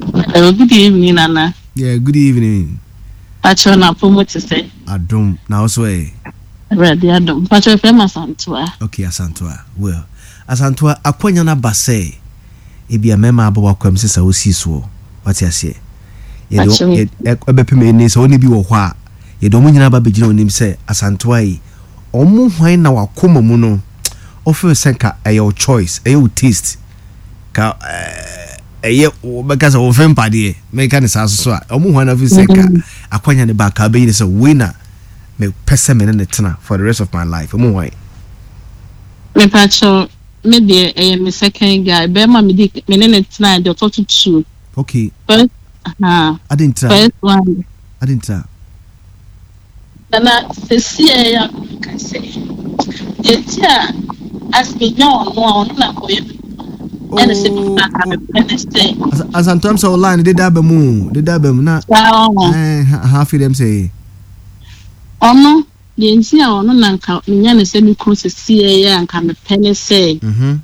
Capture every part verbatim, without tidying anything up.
Hello, good evening, Nana. Yeah, good evening. Pacho na pomo te sɛ. Adom na wo so ɛ? Awurade adom. Pacho efrɛ m Asantoa. Okay, Asantoa. Well, Asantoa, akwanya no aba sɛ ebia mmarima aba w'akwam sɛ sɛ wosii soɔ. Wate aseɛ? Yɛde Pacho. ɛbɛpem ɛni sɛ wone bi wɔ hɔ a, yɛde wɔn nyinaa ba bɛgyina w'anim sɛ Asantoa yi, wɔn hwan na wakoma mu no, wofeel sɛ nka ɛyɛ wo choice, ɛyɛ wo taste, ka ɛyɛ wɔbɛka sɛ wɔfɛ mpadeɛ mɛka ne saa soso a ɔmo hwan afi sɛ ka akwanya ne ba ka bɛyi ne sɛ wei na mepɛ sɛ me ne ne tena for the rest of my life, ɔmo hwan? Mepacho, me deɛ ɛyɛ me second guy. Bɛrima me di me ne ne tena deɛ ɔtɔ so two. Okay. First, uh, ade ntira first one. Ade ntira? Nana, sisi a ɛyɛ akɔka sɛ deɛ ti a as menya ɔno a ɔno na kɔyɛ me ɛna sɛ papa a mepɛ ne sɛ Asantoam sɛ line deda aba mu, deda aba mu na saa ɔho. Ɛɛ ha afei dɛm sɛ ɔno deɛ nti a ɔno na nka menya ne sɛ me kunu sisi ɛyɛ a nka mepɛ ne sɛ mhm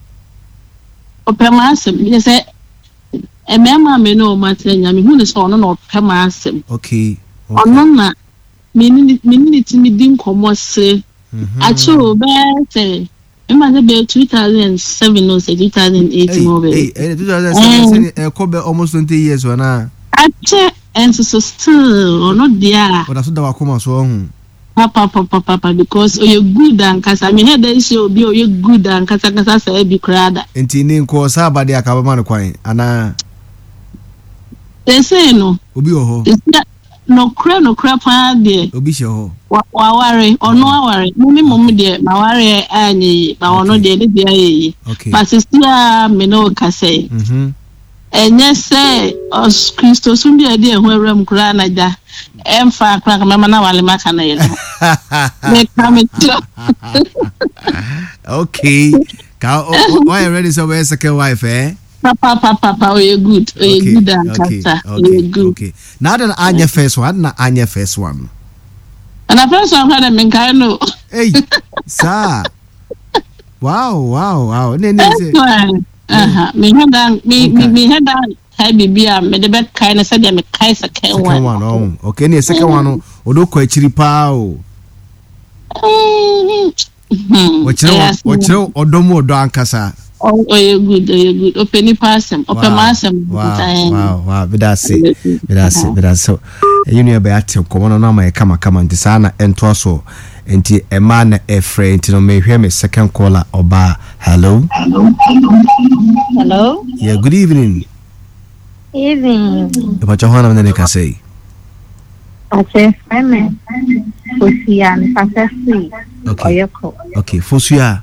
ɔpɛ m'asɛm yɛ sɛ mmarima a me ne wɔn atena nya mehu ne sɛ ɔno na ɔpɛ m'asɛm. okay okay Ɔno na me ne ne me ne ne tumi di nkɔmmɔ sere mhm akyerɛw bɛyɛ sɛ mema sɛ bɛyɛ two thousand and seven o sɛ two thousand and eight Hey, mu bɛyɛ. hey, hey, two thousand seven sɛ ɛkɔ bɛ almost twenty years wɔ na. Akyɛ nso so still ɔno deɛ a ɔda so da wakoma so ɔho. Papapapapa, because ɔyɛ good ankasa. Mehɛ dɛ nhyɛ obi a ɔyɛ good ankasa ankasa saa bi koraa da. Nti ne nkɔ saa aba deɛ aka bɛma no kwan anaa? Sɛsei no obi wɔ hɔ. Sɛsei nokorɛ nokorɛ paa deɛ obi hyɛ hɔ. wa- waware ɔno aware mo me mom deɛ maware anyɛ yie ba ɔno Okay. deɛ ne deɛ ayɛ yie. Okay ba sisi a me ne wo kasa yi, mhm ɛnyɛ sɛ ɔs Kristosom bi a ɛde ɛho awura mu koraa na gya ɛmfa koraa ka mɛma na wale maka no yɛ ne ho meka mekyerɛ. Okay, ka wayɛ ready sɛ ɔbɛyɛ second wife, eh? Papapapapa, ɔyɛ good, ɔyɛ okay good okay ankasa, okay ɔyɛ good. Okay, na adi na anyɛ first one, adi na anyɛ first one? Ɛna first one koraa dɛ menkae no. Hey, saa, wow wow wow ne ne First sɛ one aha mehɛ da me me okay mehɛ da kae biribi a mede bɛkae no sɛdeɛ mekae second second one. One ɔho, okay, ne second one no ɔde kɔ akyiri paa o. Hmm, ɔkyerɛ ɛyɛ wɔ- asɛm. Ɔkyerɛ ɔdɔ mu ɔdɔ ankasa. Ɔ- ɔyɛ good, ɔyɛ good, ɔpɛ nipa asɛm, ɔpɛ wow m'asɛm. wow ɛn wow wow meda ase, meda ase, Ɔyɛ good. meda ase. Ɛyɛ nua bɛyɛ ate nkɔmɔ no na ama yɛ kamakama, nti saa na ɛntoa so. Nti ɛmaa na ɛfrɛ nti no mehwɛ me second caller, ɔbaa. Hello? Hello. Yeah, good evening. Evening. Ìpàkyɛ hɔ anam ne ne kasa yi? Ɔkyɛ frɛ me Fosia, mekasa firi okay Ɔyɛkɔ. Okay, Fosua,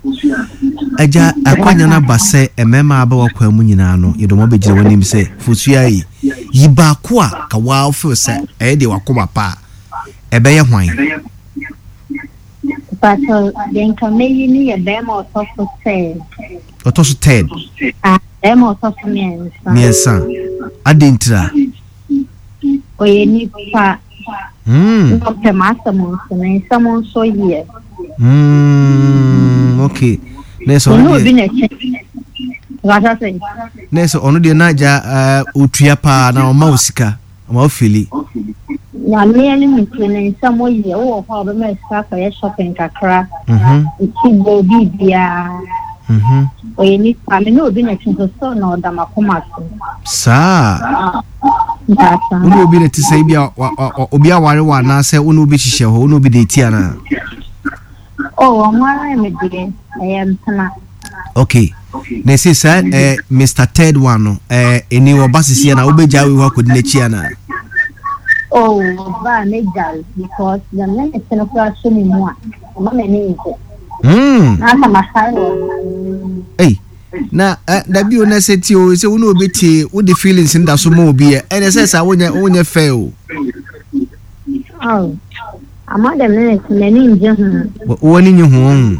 agya akwanya no aba sɛ mmarima aba wakwan mu nyinaa no yɛde wɔn abɛgyina w'anim sɛ Fosua yi, yi baako a ka waa feel sɛ ɛyɛ deɛ wakoma pa a ɛbɛyɛ hwan? Mpakyɛ, deɛ nka mɛyi ne yɛ bɛrima a ɔtɔ so third. Ɔtɔ so third? Ah, bɛrima a ɔtɔ so mmiɛnsa. Mmiɛnsa, ade ntira? Ɔyɛ nipa Hmm. na ɔpɛ m'asɛm nso, ne nsɛm nso yɛ. Mm, okay, na sɛ Ɔne ɔno obi deɛ na ɛkyɛ. Mpakyɛ sɛ na sɛ ɔno deɛ na agya uh, otua paa na ɔma wo sika, ɔma wo fili. Nyame anim nti ne nsɛm yɛ. Wowɔ hɔ a ɔbɛma sika akɔyɛ shopping kakra. Mhm, Nti bɔ biribiara. mhm. Ɔyɛ nipa, me ne obi na ɛkyɛ nso so na ɔda m'akoma so. Saa? Mpakyɛ. Wo ne obi na te sɛ ebi a wa- wa- wa- obi aware wɔ anaasɛ wo ne obi hyehyɛ hɔ, wo ne obi de ti anaa? Oh, ɔnware me deɛ, ɛyɛ mpena. Okay, na ɛsɛ saa eh, Mister Third One no eh, ɛni ɔba sisi ana wobɛgya wei hɔ akɔdi n'akyi anaa? Oh, ɔbaa megyae because na me ne te no koraa hyɛ me mu a, ɔma m'ani ngye. Hmm. Na aka masae wɔ no. Ei, na eh, dabi o, na sɛ tie o, sɛ wo ne obi tie, wode feelings no da so ma obi ɛ, ɛnɛ sɛ saa wonyɛ wonyɛ fair o. Oh, ama dɛm ne ne te m'ani ngye ho. Wo- w'ani nye ho ɔho?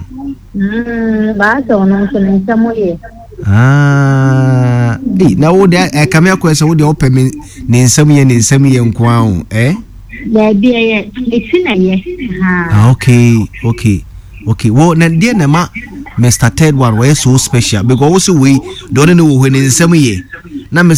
Mm, baa sɛ ɔno nso ne nsɛm yɛ. Ah, ei, na wo deɛ ɛkame akɔɛ sɛ wo deɛ wopɛ me ne nsɛm yɛ, ne nsɛm yɛ nko ara o, eh? Daabi, ɛyɛ mesi na ɛyɛ. Ha. Ah, okay okay okay Wo na deɛ na ma Mister Third One wɔyɛ so special, because wo sɛ wei deɛ ɔne ne wɔ hɔ ne nsɛm yɛ na Mister